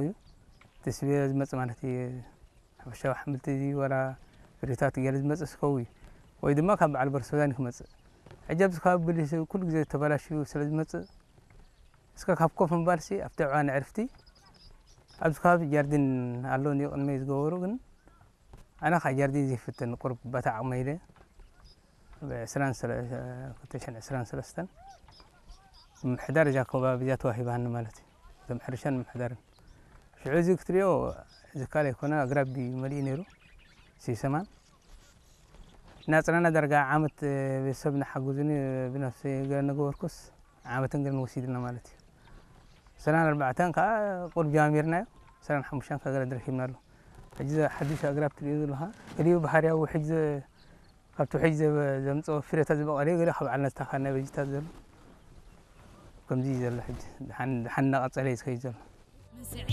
እዩ። እቲ ስቤ ዝመጽእ ማለት እዩ። ሓፈሻዊ ኣሕምልቲ ድዩ ዋላ ፍሪታት ገለ ዝመጽእ ስከው እዩ። ወይ ድማ ካብ በዓል በርሶዛን ክመጽእ። ሕጂ ኣብዚ ከባቢ ብሊስ ኩሉ ግዜ ተበላሽዩ ስለ ዝመጽእ፣ እስከ ካብ ኮፍ ምባልሲ ኣብቲ ዕዋ ንዕርፍቲ ኣብዚ ከባቢ ጃርዲን ኣሎ እንድዩ ቅድመይ ዝገበሩ፣ ግን ኣነ ከዓ ጃርዲን ዘይፍትን ቁሩብ በታ ዓቕመይ ኢለ ብ ዕስራን ሰለ-፣ ክልተ ሽሕን ዕስራን ሰለስተን ምምሕዳር እዛ ከባቢ እዚኣ ተዋሂባኒ ማለት እዩ። እቶም ሕርሻን ምምሕዳርን። ሽዑ እዚ ክትሪኦ ዝካል ኣይኮነ፣ ኣግራብ ድዩ መሊኡ ነይሩ። ሲሰማን ናጽናና ዳርጋ ዓመት ቤተሰብ ንሓግዙኒ ብነፍሲ ገለ ነገበርኩስ ዓመትን ገለን ወሲድና ማለት እዩ። ሰላን ኣርባዕተን ከዓ ቁሩብ ጀማሚርናዮ፣ ሰላን ሓሙሽተን ከዓ ገለ ረኪብና ኣሎ። ሕጂ እዚ ሓዱሽ ኣግራብ ትሪኦ ዘለኻ ገሊኡ ባህርያዊ ውሕጅ ዘ-፣ ካብቲ ውሕጅ ዘ-፣ ዘምፅኦ ፍሬታት ዝበቐለ እዩ፣ ገሊኡ ካብ ዓልና ዝተኻልና በጅታት ዘሎ። ከምዚ እዩ ዘሎ ሕጂ። ደሓን፣ ደሓን እናቐፀለ እዩ ዝኸይድ ዘሎ።